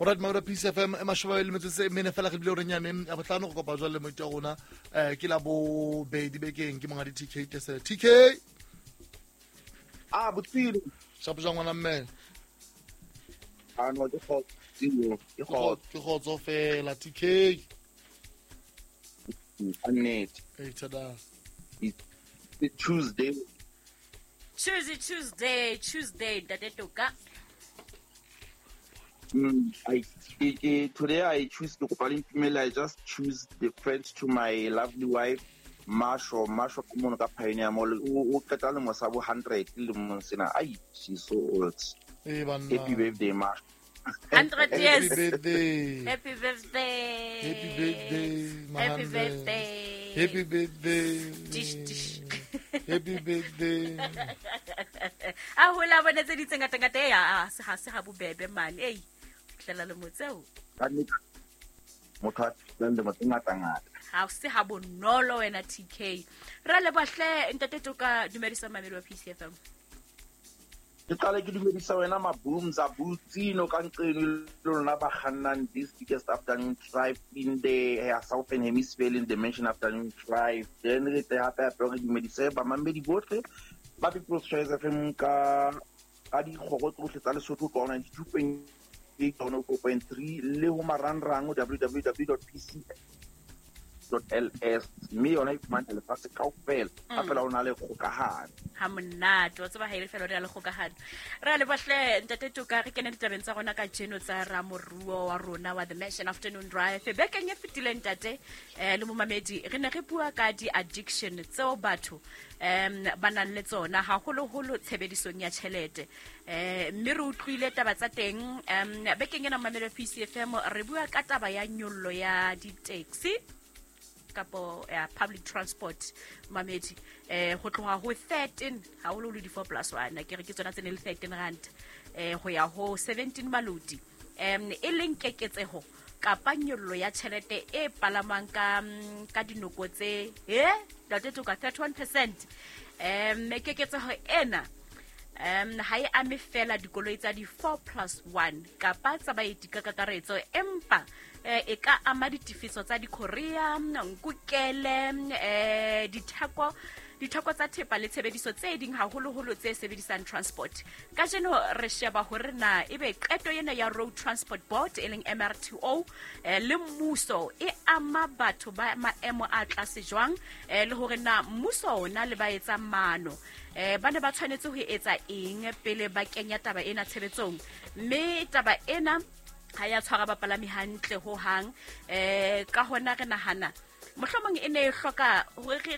Alright, Maura Peace FM e mashome le metsotso e mene fela re bile gore nyane ya botlhano go kopa jwale le moiti wa rona ke la bobedi bekeng ke mongadi TK Tesele. TK A botsile. Shapo jwa ngwana mme. A no ke kgotso, ke kgotso. Ke kgotso fela TK. Ka nnete. Hey tada. It's Tuesday. Tuesday, Tuesday, Tuesday, Ntate Toka. Today I choose to kopa le ntumelle, I just choose the friend to my lovely wife Masho. Masho ke mono ka Pioneer Mall. O qeta lemo sa bo 100 lemong sena. Ai, she's so old. Eh banna. Happy birthday Masho. 100 years. Happy birthday. Happy birthday. Happy birthday, Happy Mahammed. birthday. Happy birthday. Dish, dish. Happy birthday. A hola bona tse di tse ngata-ngata e a se ga se ga bobebe mane ei tlela le motseo. Ka nnete, motho a fihlang lemo tse ngata-ngata. Ga se ga bonolo wena TK. Ra lebohle ntate Toka, dumedisa mamedi wa PCFM. Ke qale ke dumedisa wena Mabooms a Botsino ka nqeno le lona ba kgannang this biggest afternoon drive in the Southern Hemisphere in the Mansion afternoon drive. Then re tle hape hape re dumedise bamamedi bohle ba People's Choice FM ka dikgoro tsohle tsa Lesotho ka 92.8 104.3 le ho marangrang www.pc.ls, mme yona e fumana lefatshe kaofela ha fela o na le kgokahano. Ha monate wa tseba ha e le fela o na le kgokahano. Re a lebohle ntate Toka, re kene ditabeng tsa rona ka jeno tsa ramoruo wa rona wa The Mansion Afternoon Drive. Bekeng e fetileng ntate le momamedi re ne re bua ka di-addiction tseo batho ba nang le tsona haholoholo tshebedisong ya tjhelete. Mme re utlwile taba tsa teng. Bekeng ena momamedi wa PCFM re bua ka taba ya nyollo ya di-taxi kapo ya public transport mamedi ho tloha ho 13 haholoholo di 4 plus 1 ke re ke tsona tse ne le 13 rand ho ya ho 17 maloti e leng keketseho kapa nyollo ya tjhelete e palamang ka dinoko tse ntate Toka 31%. Keketseho ena ha e ame fela dikoloi tsa di 4 plus 1 kapa tsa baeti ka kakaretso, empa e ka ama ditefiso tsa di-courier, nkukele, ditheko tsa thepa le tshebediso tse ding haholoholo tse sebedisang transport. Kajeno re sheba hore na ebe qeto ena ya Road Transport Board e leng MRTO le mmuso e ama batho ba maemo a tlase jwang, le hore na mmuso ona le ba etsang maano ba ne ba tshwanetse ho etsa eng pele ba kenya taba ena tshebetsong. Mme taba ena ha ya tshwara bapalami hantle ho hang, ka hona re nahana mohlomong e ne e hloka hore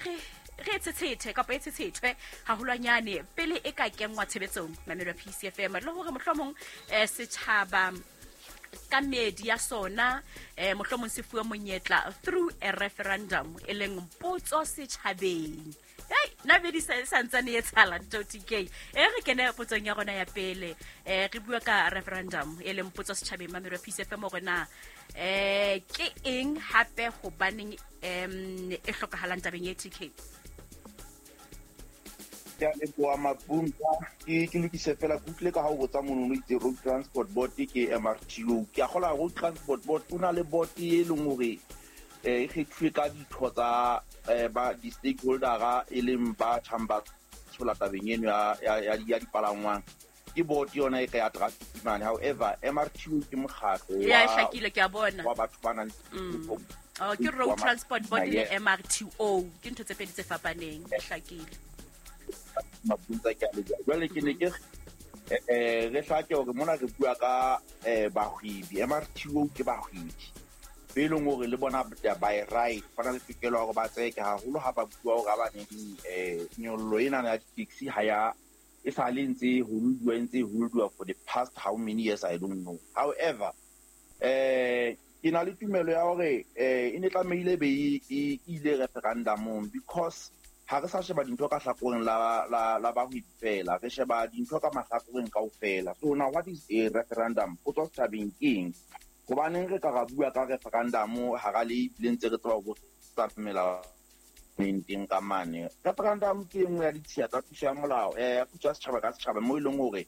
re tshetshete kapa e tshetshethwe haholwanyane pele e ka kenngwa tshebetsong mamelo ya PCFM, le hore mohlomong setjhaba ka medi ya sona mohlomong se fuwe monyetla through a referendum e leng potso setjhabeng. Hey, nna bedi santsane e tshala nto TK. Re kene potsong ya rona ya pele. Re bua ka referendum e leng potso setjhabeng mamelo ya PCFM hore na ke eng hape hobaneng e hlokahalang tabeng e TK. Ke a leboha Mabunga. Ke lokise fela ke utlwile ka ha o botsa mono o itse Road Transport Board ke MRTO. Ke a kgola Road Transport Board o na le board e leng hore e kgethuwe ka ditho tsa ba di-stakeholdera e leng ba tjhang ba tshola tabeng eno ya dipalangwang. Ke board yona e ka ya traffic mane. However, MRTO ke mokgatlo Ya, e hlakile, ke a bona. wa batho ba nang Oh, ke Road Transport Board le MRTO ke ntho tse pedi tse fapaneng, e hlakile. Mabunza ke a leboha. Jwale ke ne ke re hlake hore mona re bua ka bahwebi. MRTO ke bahwebi be leng hore le bona by right ba na le tokelo ya hore ba tseke haholo ha ba bua hore ha ba neng nyollo ena ya di-taxi ha ya e sa le ntse holduwa, e ntse holduwa for the past how many years I don't know. However, ke na le tumelo ya hore e ne tlamehile be e ile referendumong, because ha re sa sheba dintho ka hlakoreng la bahwebi fela, re sheba dintho ka mahlakoreng kaofela. So now what is a referendum? Potso setjhabeng ke eng? Hobaneng re ka ra bua ka referendum hara le ebile ntse re tseba ho tsa melao teng ka mane. Referendum ke e nngwe ya ditshiya tsa puso ya molao, ya puso ya setjhaba ka setjhaba, moo e leng hore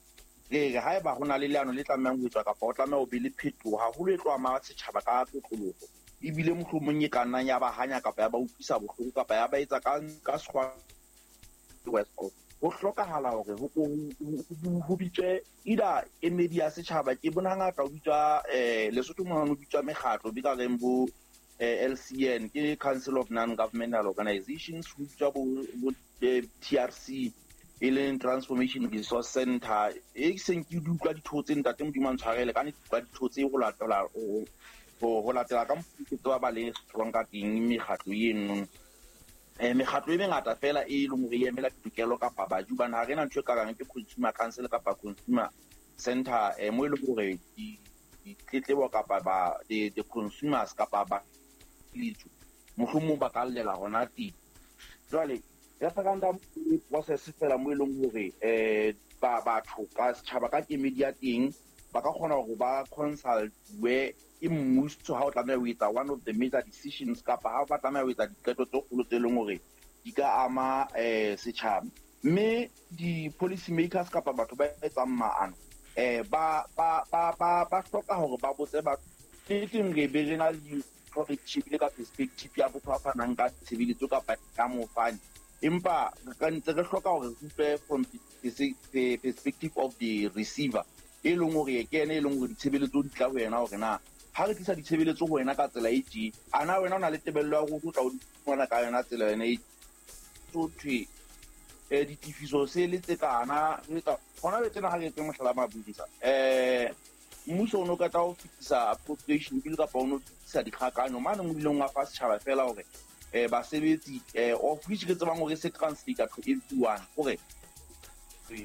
Re re haeba ho na le leano le tlamehang ho etswa kapa o tlameha ho be le phetoho haholo e tlo ama setjhaba ka kotloloho, ebile mohlomong e ka nnang ya ba hanya kapa ya ba utlwisa bohloko kapa ya ba etsa ka sekgwa worse off. Ho hlokahala hore ho bitswe either emedi ya setjhaba. Ke bona hangata ho bitswa Lesotho mona ho bitswa mekgatlo be ka reng bo LCN, ke Council of Non-Governmental Organizations, ho bitswa bo TRC, e leng Transformation Resource Center. E seng ke di utlwa ditho tse, ntate Modimo a ntshwarele ka nnete, utlwa ditho tse ho latela ka mokgwa ke tseba ba le strong ka teng mekgatlo eno. Mekgatlo e mengata fela e leng hore e emela ditokelo kapa baji, hobane ha re na ntho e ka reng ke consumer council kapa consumer center, mo e leng hore ditletlebo kapa ba the consumers kapa ba litso mohlomong ba ka llela hona teng. Jwale referendum ke process fela mo e leng hore ba batho ka setjhaba ka kemedi ya teng ba ka kgona hore ba consultwe ke mmuso ha o tlameha ho etsa one of the major decisions kapa ha ba tlameha ho etsa diqeto tse kgolo tse leng hore di ka ama setjhaba. Mme di-policy makers kapa batho ba etsang maano ba hloka hore ba botse batho. Nneteng re be re na le dintho re di shebile ka perspective ya motho a fanang ka tshebeletso kapa ka mofani, empa re ka ntse re hloka hore re utlwe from the perspective of the receiver, e leng hore ke ene e leng hore ditshebeletso di tla ho yena, hore na ha re tlisa ditshebeletso ho wena ka tsela e tje, a na wena o na le tebello ya hore o tla o di fumana ka yona tsela yona e so thwe ditefiso se le tse kana re etsa hona le tsena. Ha re etse mohlala, Mabunza, mmuso o no qeta ho fetisa appropriation bill kapa o no fetisa dikgakanyo mane o ileng wa fa setjhaba fela hore basebetsi, of which re tsebang hore se translate to everyone, hore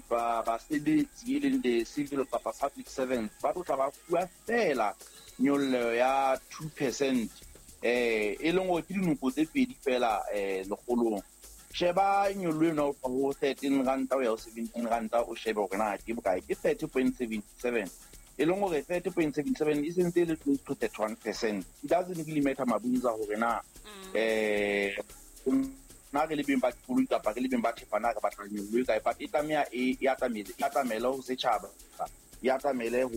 ba basebetsi e leng the civil kapa public servants ba tlo tla ba fuwa fela nyollo ya 2%, e leng hore ke dinoko tse pedi fela lekgolong. Sheba nyollo eno ho 13 ranta ho ya ho 17 ranta, o shebe hore na ke bokae, ke 30.77, e leng hore 30.77 e sentse e le close to 31%. It doesn't really matter, Mabunza, hore na na re le beng ba dikoloi kapa re le beng ba thepa na re batla nyollo e kae, but e tlameha e atamele ho setjhaba, e atamele ho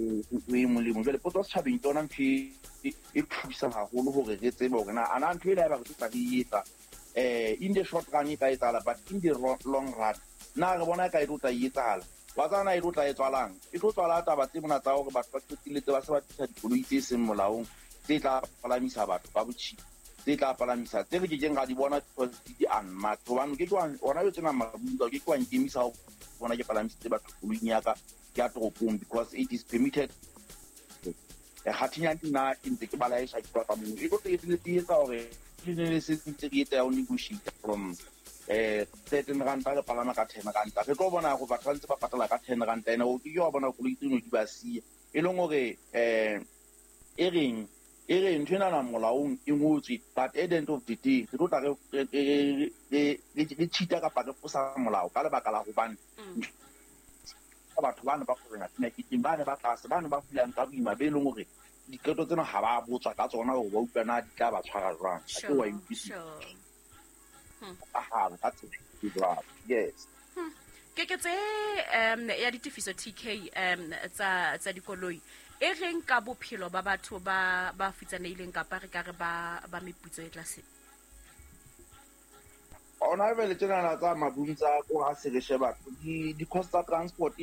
e mong le mong. Jwale potso setjhabeng ke yona ntho e thusang haholo hore re tsebe hore na ana ntho ena haeba re tlo tla re e etsa in the short run e ka etsahala, but in the long run na re bona e ka e tlo tla e etsahala? Wa tseba na e tlo tla e tswalang, e tlo tswala taba tse mona tsa hore batho ba qetelletse ba se ba tlisa dikoloi tse seng molaong, tse tla palamisa batho ka botjhipa, tse tla palamisa tse re kekeng ra di bona because di unmarked, hobane ke ke hona jwale tsena, Mabunza, o ke ke wa nkemisa ho bona ke palamisitse batho koloing ya ka ya toropong because it is permitted. Kgathinyane nna ke ntse ke balaesha ke tloha ka moo, e tlo qetelletse e etsa hore le ne le se ntse re etsa ya ho negotiate from 13 ranta re palama ka 10 ranta. Re tlo bona hore batho ba ntse ba patala ka 10 ranta ene o ke ke wa bona koloi tseno di ba siya, e leng hore e reng e re ntho enana molaong e ngotswe, but at the end of the day re tlo tla re cheat-a kapa re fosa molao ka lebaka la hobane batho bana ba kgorena meketeng, bane ba tlase, bane ba fulang ka boima, be leng hore diqeto tsena ha ba botswa ka tsona hore ba utlwa na di tla ba tshwara jwang. Ha ke wa e utlwisisa ahala ka tsela e jwalo, yes. Keketso ya ditefiso, TK, tsa dikoloi e reng ka bophelo ba batho ba futsanehileng kapa re ka re ba meputso e tlase? Ona jwale tsenana tsa Mabunza ko ha se re sheba di-cost tsa transport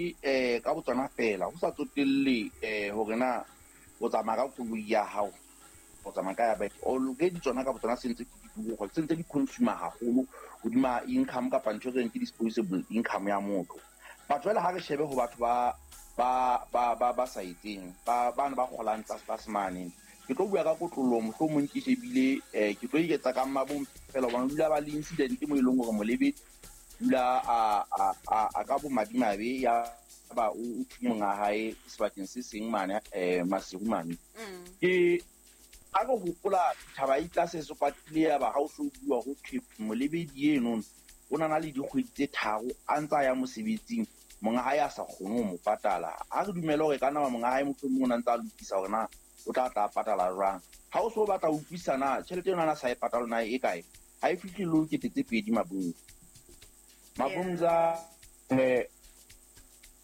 ka botsona fela, ho sa tsotelle hore na o tsamaya ka koloi ya hao, o tsamaya ka ya batho, already tsona ka botsona se ntse di turu, se ntse di consumer haholo hodima income kapa ntho e reng ke disposable income ya motho. But jwale ha re shebe ho batho ba sa etseng, ba bana ba kgolang tlase tlase mane, ke tlo bua ka kotloloho, mohlomong ke shebile ke tlo iketsa ka mmabong fela, hobane o dula ba le incident mo e leng hore molebedi dula a ka bomadimabe ya ba o thunya monga hae sebakeng se seng mane Maseru mane. Ke ha re hopola thaba e tlase se kwatile ya ba ha o so bua ho thwe molebedi eno o na le dikgwedi tse 3 a ntse a ya mosebetsing, monga hae a sa kgone ho mo patala. Ha re dumele hore ka nama monga hae mohlomong o na ntse a lokisa hore na o tla tla patala jwang. Ha o so batla ho utlwisisa na tjhelete eno a na sa e patala na e kae, ha e fihle le 2,000, Mabunza. Mabunza,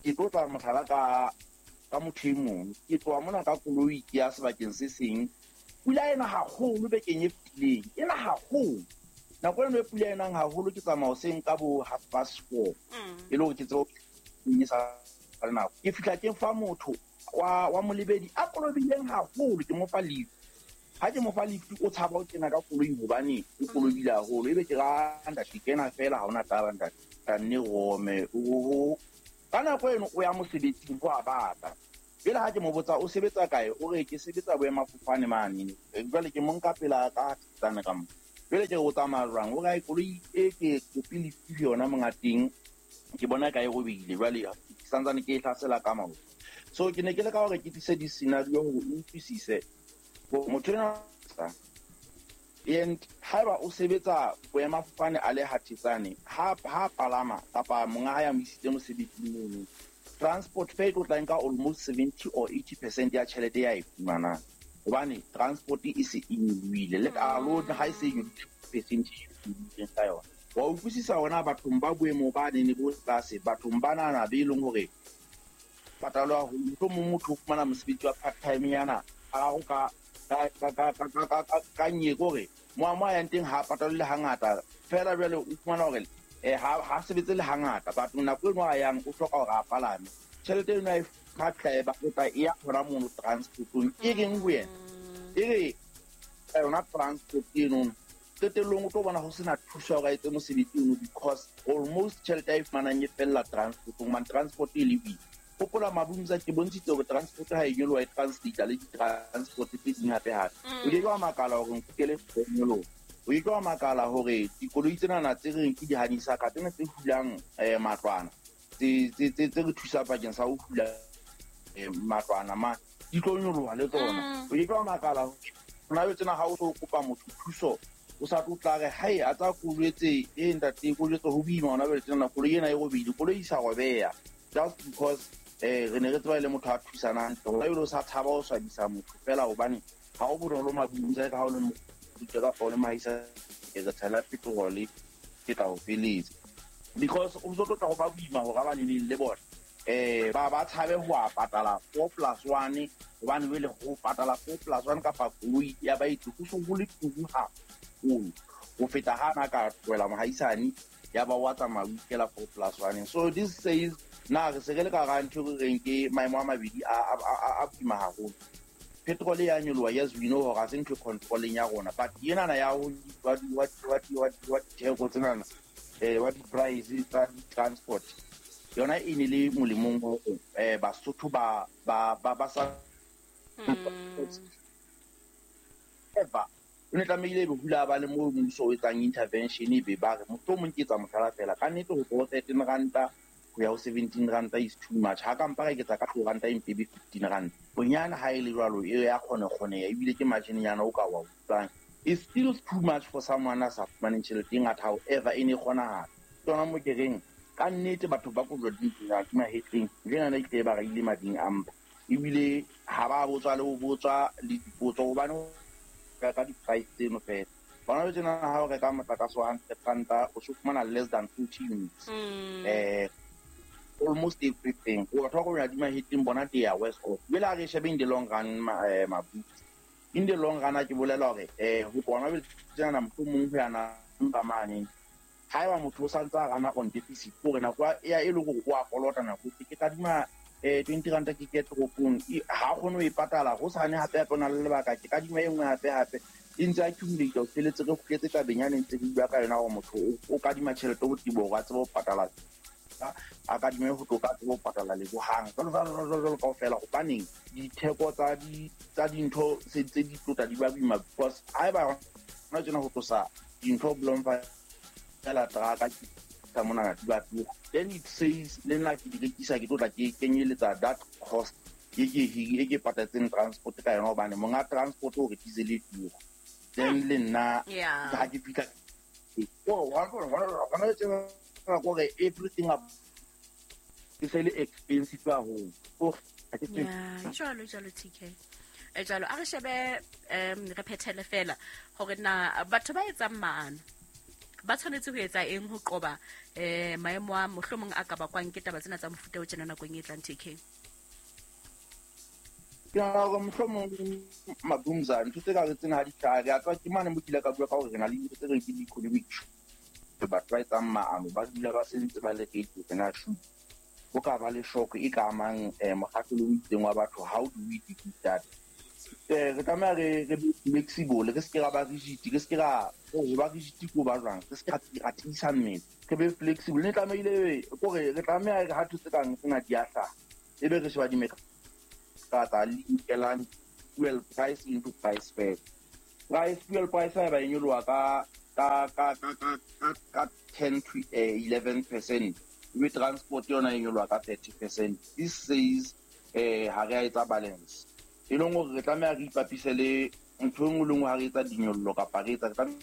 Ke tlo tla mohlala ka motho e mong. Ke tloha mona ka koloi ke ya sebakeng se seng. Pula ena haholo bekeng e fetileng. Ena haholo. Nako eno e pula enang haholo ke tsamaya hoseng ka bo 4:30. E le hore ke tsebe ho sa le nako. Ke fihla ke fa motho wa molebedi a kolobileng haholo, ke mo fa lift. Ha ke mo fa lift o tshaba ho kena ka koloi hobane o kolobile haholo. Ebe ke ra ntate kena fela ha hona taba ntate. Ka nne rome. Ka nako eno o ya mosebetsing ho a bata. Jwale ha ke mo botsa o sebetsa kae, o re ke sebetsa boemafofane mane. Jwale ke mo nka pela ka tsane ka mo. Jwale ke re o tsamaya jwang? O re ai koloi e ke kopile lift yona monga teng. Ke bona ka e robehile jwale ke santsane ke e hlasela ka maoto. So ke ne ke leka hore ke tlise di-scenario hore o utlwisise motho enwa and haeba o sebetsa boemafofane a le Hathetsane, ha palama kapa monga hae a mo isitse mosebetsing mono, transport fare e tlo tla nka almost 70 or 80% ya tjhelete ya e fumanang. Hobane transport e se e nyolohile le kalo ha e se e nyolohile percent e ka yona. Wa utlwisisa hona bathong ba boemo ba nene bo tlase, bathong ba nana be leng hore patalwa haholo. Mohlomong motho o fumana mosebetsi wa part time yana a go ka nye kore mo a yang teng ha patalwe le hangata fela. Jwale o fumana hore ha sebetse le hangata, but nako eno a yang o hloka hore a palame. Tjhelete eno a e kgatla e ba e ya hona mono transportong. E reng ho yena? E re yona transport eno qetellong o tlo bona ho sena thuso hore a etse mosebetsi ono because almost tjhelete a e fumanang e fella transportong. Man transport e le boima. Hopola Mabumza ke bontshitse hore transport ha e nyoloha e translate le di-transport tse ding hape hape. O ke ke wa makala hore nkukele nyoloha. O ke ke wa makala hore dikoloi tsenana tse reng ke di-honeysuckle tsena tse hulang matlwana tse re thusang bakeng sa ho hula matlwana ma di tlo nyoloha le tsona. O ke ke wa makala hore hona tsena ha o so kopa motho thuso o sa tlo tla re hae a tsa kolwetse e ntate kolwetse ho boima hona jwale tsena koloi ena e robehile, koloi e sa robeha just because re ne re tseba le motho a thusanang. Hona jwale o sa thaba o swabisa motho fela hobane ha o bonolo Mabumza ka ha o le motho kapa o le mahaisa ke re tshela petrol ke tla o feletsa because o so tlo tla go ba boima hore ba neneng le bona ba tshabe ho a patala 4+1 hobane jwale ho patala 4+1 kapa koloi ya baeti ho so ho le turu haholo ho feta ha na ka tlohela mohaisane ya ba wa tsamaya o ikela 4+1. So this says na re se re le ka hara ntho e re reng ke maemo a mabedi a boima haholo. Petrol ya nyoloha, yes we know hore ha se ntho e controlling ya rona, but enana ya ho wa ditheko tsenana wa di-price tsa di-transport yona e ne le molemong hore Basotho ba sa ever o ne tlamehile ebe hula ba le moo mmuso o etsang intervention ebe ba re mohlomong ke etsa mohlala fela ka nnete ho tloha 13 ranta ho ya ho 17 ranta is too much. Ha ka mpa ra eketsa ka 2 ranta empe be 15 ranta bonyane ha e le jwalo e ya kgone kgoneha ebile ke margin nyana o ka wa utlwang. It's still too much for someone a sa fumaneng tjhelete e ngata, however e ne kgonahala. Ke yona mo ke reng ka nnete batho ba kojwa di mahetleng jena ne ke ba raile mading a mpa ebile ha ba botswa le ho botswa le dipotso hobane ka di-price tseno fela. Bona tsena ha o reka motlakase wa 100 ranta o so fumana less than 40 units. Almost everything. O batho ba kojwa di mahetleng bona they are worse off. Jwale ha re shebe in the long run Mabutse. In the long run ke bolela hore ho bona tsena mohlomong ho yana mpa mane haeba motho o santse a rana on deficit hore nako ya e le hore o a kolota nako ke kadima 20 ranta ke ke toropong ha kgone ho e patala ho sane hape hape o na le lebaka ke kadima e nngwe hape hape e ntse accumulate o feletse re kgutletse tabeng yane ntse re bua ka yona hore motho o kadima tjhelete ho tibo hore a tsebe ho patala a kadime ho tlo ka tsebe ho patala lebohang jwalo jwalo jwalo kaofela. Hobaneng ditheko tsa dintho se tse di tlota di ba boima because haeba hona tjena ho tlosa dintho Bloemfontein fela traka ka mona di ba tura, then it says le nna ke di rekisa ke tlo tla ke kenyeletsa that cost e ke patetseng transport ka yona hobane monga transport o re diesel e tura then le nna ha ke fihla hona tjena kore everything up ke se le expensive haholo. Jwalo jwalo TK jwalo a re shebe re phethele fela hore na batho ba etsang maano Ba tshwanetse ho etsa eng ho qoba maemo a mohlomong a ka bakwang ke taba tsena tsa mofuta o tjena nakong e tlang, TK? Ke nahana hore mohlomong, Mabumza, ntho tse ka re tsena ha di hlaha, re a tswa ke mane mo ke ile ka bua ka hore re na le dintho tse reng ke di-economic, batho ba etsang maano ba dula ba sentse ba le ready hore na shoot ho ka ba le shock e ka amang mokgahlelo o itseng wa batho. How do we deal with that? Re tlameha re be flexible, re se ke ra ba rigid, re se ke ra ho ba rigid ko ba jwang, re se ke ra tiisa mmele, re be flexible. Ne tlamehile kore re tlameha re ha ntho tse kang tsena di a hlaha, ebe re sheba dimekga tsa linkelang fuel price into price fair price. Fuel price ha e ba e nyoloha ka 10 to 11%, ebe transport yona e nyoloha ka 30%, this says ha re a etsa balance. E leng hore re tlameha re ipapise le ntho e nngwe le nngwe ha re etsa dinyollo kapa re etsa, re tlameha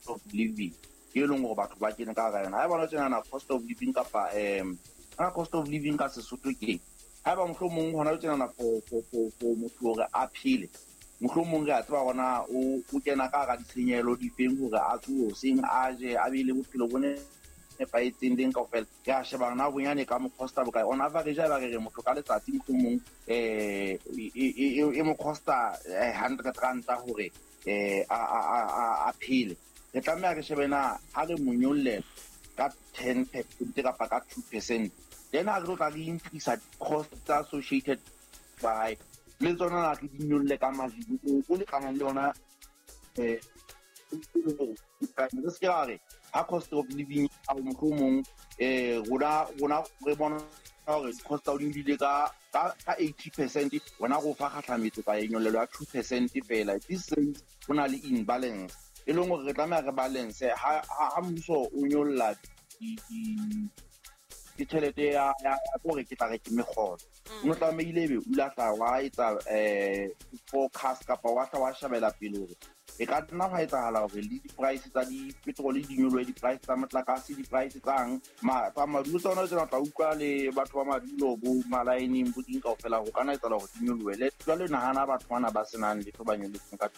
of living e leng hore batho ba kene ka hara yona. Ha e bona tjenana cost of living kapa ha cost of living ka Sesotho ke haeba mohlomong hona tjenana for motho hore a phele, mohlomong re a tseba hore o kena ka hara ditshenyehelo difeng hore a tsohe hoseng, a je, a be le bophelo bo nepahetseng leng kaofela. Re a sheba na bonyane ka mo costa bokae on average. Ha eba re re motho ka letsatsi mohlomong e mo costa R100 hore a phele, re tlameha re shebe na ha re mo nyollela ka 10% kapa ka 2%, then ha re tlo tla re increase cost tsa associated by le tsona, na re di nyolle ka margin o lekanang le yona. Re se ke ra re ha cost of living a mohlomong rona re bona hore cost tsa hodimo di ile ka 80%, wena go fa kgahlametso ka nyollelo ya 2% fela. This says ho na le imbalance e leng hore re tlameha re balance. Ha mmuso o nyolla ke tjhelete ya hore ke tla re ke mekgolo, o no tlamehile ebe o ile a tla wa etsa forecast kapa wa tla wa shebela pele hore e ka nna hwa etsahala hore le di-price tsa di-petrol di nyolohe, di-price tsa motlakase, di-price tsang tsa madulo tsona tsena, o tla utlwa le batho ba madulo bo malaeneng bo ding kaofela, ho kana etsahala hore di nyolohe. Le jwale nahana batho bana ba senang letho ba nyolotseng ka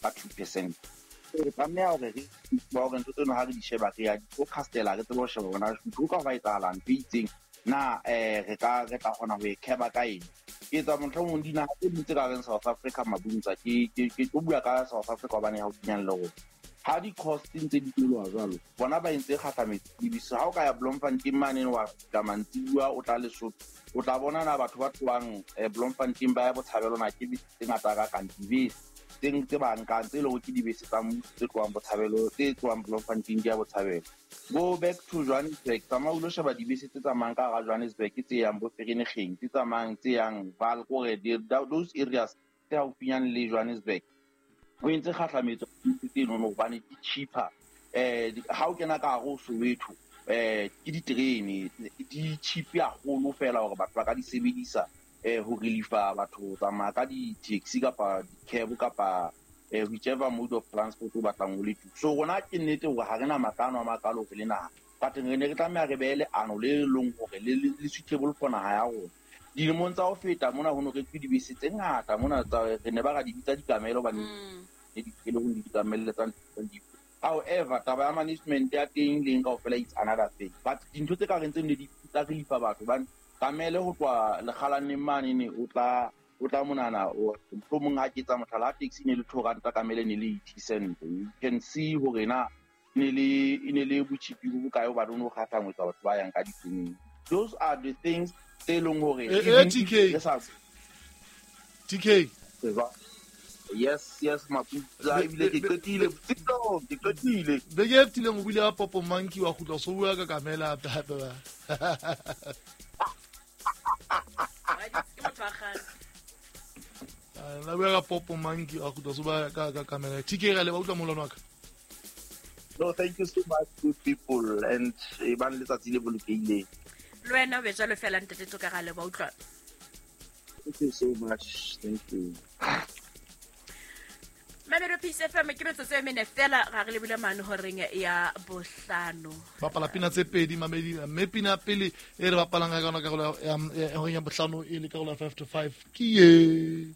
2%. Re tlameha hore re ba hore ntho tseno ha re di sheba, re ya di forecastela, re tsebe ho sheba hore na ho ka hwa etsahala ntho e itseng na, re ka re tla kgona ho e kheba ka eng. Ke etsa mohlomong dinaha tse ding tse ka reng South Africa, Mabunza, ke tlo bua ka South Africa hobane haufinyane le rona. Ha di-cost ntse di nyoloha jwalo, bona ba entse kgahlametso dibese. Ha o ka ya Bloemfontein mane, wa fihla mantsibuya, o tla Lesotho, o tla bona na batho ba tlohang Bloemfontein ba ya Botshabelo na ke bese tse ngata ka kang dibese tse ba nkang tse leng hore ke dibese tsa mmuso tse tlohang Botshabelo, tse tlohang Bloemfontein di ya Botshabelo. Go back to Johannesburg, tsamaya o lo sheba dibese tse tsamayang ka hara Johannesburg, tse yang bo Vereeniging, tse tsamayang tse yang Vaal, kore those areas tse haufinyane le Johannesburg. O entse kgahlametso tseno hobane di cheaper. Ha o kena ka hare ho Soweto, ke diterene di cheap haholo fela hore batho ba ka di sebedisa ho reliefa batho ho tsamaya ka di-taxi kapa di-cab kapa whichever mode of transport o batlang o le teng. So rona ke nnete hore ha re na matla ano a makalo re le naha, but re ne re tlameha re behe leano le leng hore le suitable for naha ya rona. Dilemong tsa ho feta mona ho no rekwe dibese tse ngata mona tsa re ne ba ra di bitsa dikamelo hobane ne di le ho dikamelle tsa. However, taba ya management ya teng leng kaofela it's another thing, but dintho tse ka reng tse ne di tsa reliefa batho hobane kamele ho tloha lekgalaneng mane ne o tla monana, mohlomong ha ke etsa mohlala, ha taxi ne le R2, kamele ne le 80 cent. You can see hore na e ne le botjhipi bo bokae hobane o no kgahlangwetsa batho ba yang ka ditereneng. Those are the things tse leng hore even if TK. re sa TK. Yes, Maputla, ebile ke qetile Tsitlo, ke qetile. Beke e fetileng o buile ka popo monkey, wa kgutla so bua ka kamela hape hape ba. Ke motho wa kgale. La bua ka popo monkey, wa kgutla so bua ka kamela. TK, re le ba utlwa molwana wa ka. No, thank you so much, good people, and e bang letsatsi le bolokehileng. Le wena o be jwalo fela, ntate Toka, ga le ba utlwa. Thank you so much, thank you. Mamelo Peace FM, ke metsotso e mene fela ga re lebile mane horeng ya 5. Bapala pina tse pedi, mamedi, mme pina pele e re bapalang ka yona karolo ya horeng ya 5 e le karolo ya 4:55 ke ye.